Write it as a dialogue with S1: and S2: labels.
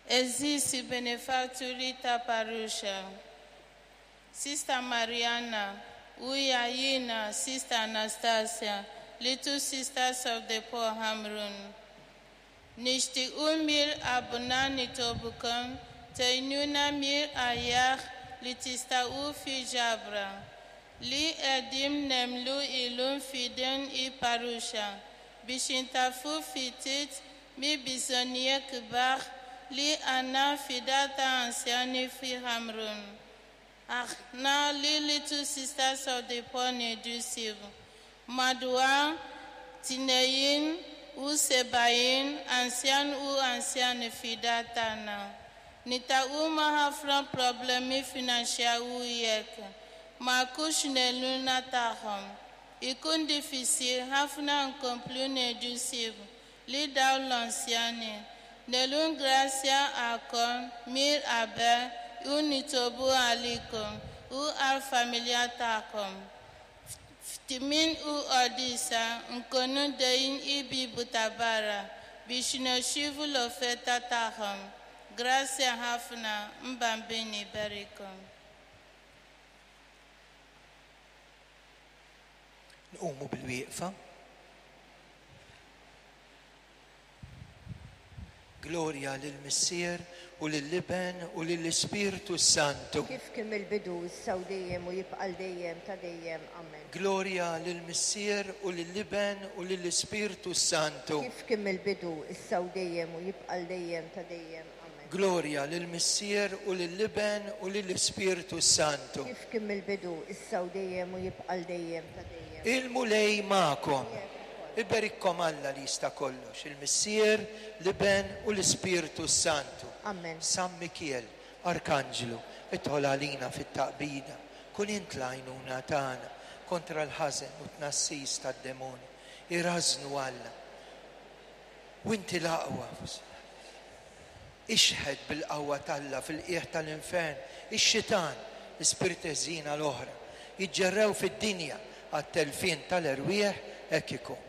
S1: Għeżież benefatturi tal-parroċċa, Sister Mariana, Uya Yina, Sister Anastasia, Little Sisters of the Poor Hamrun. Nixtiequ mill-qalbna nitolbukom tgħinuna mill-aħjar li tistgħu fil-ġabra li qegħdin nagħmlu illum f'idejn il-parroċċa biex intaffu ftit mill-bżonnijiet kbar li għandna fid-dar tal-anzjani fi Ħamrun. Aħna li Little Sisters of the Poor ngħidu madwar 72 anzjan u anzjani fid-dar tagħna. Niltaqgħu ma' ħafna problemi finanzjarji jekk ma jkunx l-għajnuna tagħhom. Ikun diffiċli ħafna nkomplu nieħdu ħsieb lil dawn l-anzjani. Nirringrazzjakom minn qabel u nitolbu għalikom u għall-familja tagħkom. Fi tmiem il-quddiesa nkunu ħdejn il-bieb ta' barra biex nirċievu l-offerta tagħkom. Grazzi ħafna, il-Bambin iberikkom.
S2: Nqumu bil-wieqfa. Glorja lill-Missier u lill-Iben u lill-Ispirtu Santu.
S3: Kif kien mill-bidu, issa u dejjem u jibqa' l dejjem ta' dejjem. Amen.
S2: Glorja lill-Missier u lill-Iben u lill-Ispirtu Santu.
S3: Kif kien mill-bidu, issa u dejjem u jibqa' l dejjem ta' dejjem. Amen.
S2: Glorja lill-Missier u lill-Iben u lill-Ispirtu Santu.
S3: Kif kien mill-bidu, issa u dejjem u jibqa' l dejjem ta' dejjem.
S2: Il-Mulej magħkom. Iberikkom Alla li jista' kollox, il-Missier, l-Iben u l-Ispirtu Santu.
S3: Amen.
S2: San Mikiel, Arkanġlu, idħol għalina fit-taqbida, kun int l-għajnuna tagħna kontra l-ħażen u t-tnassis tad-demoni. Irażnu Alla. U inti l-aqwa. Ixħet bil-qawwa t'Alla fil-qiegħ tal-infern, ix-xitan, l-ispirti ħżiena l-oħra, jiġġerrew fid-dinja għat-telfien tal-erwieħ hekk ikun.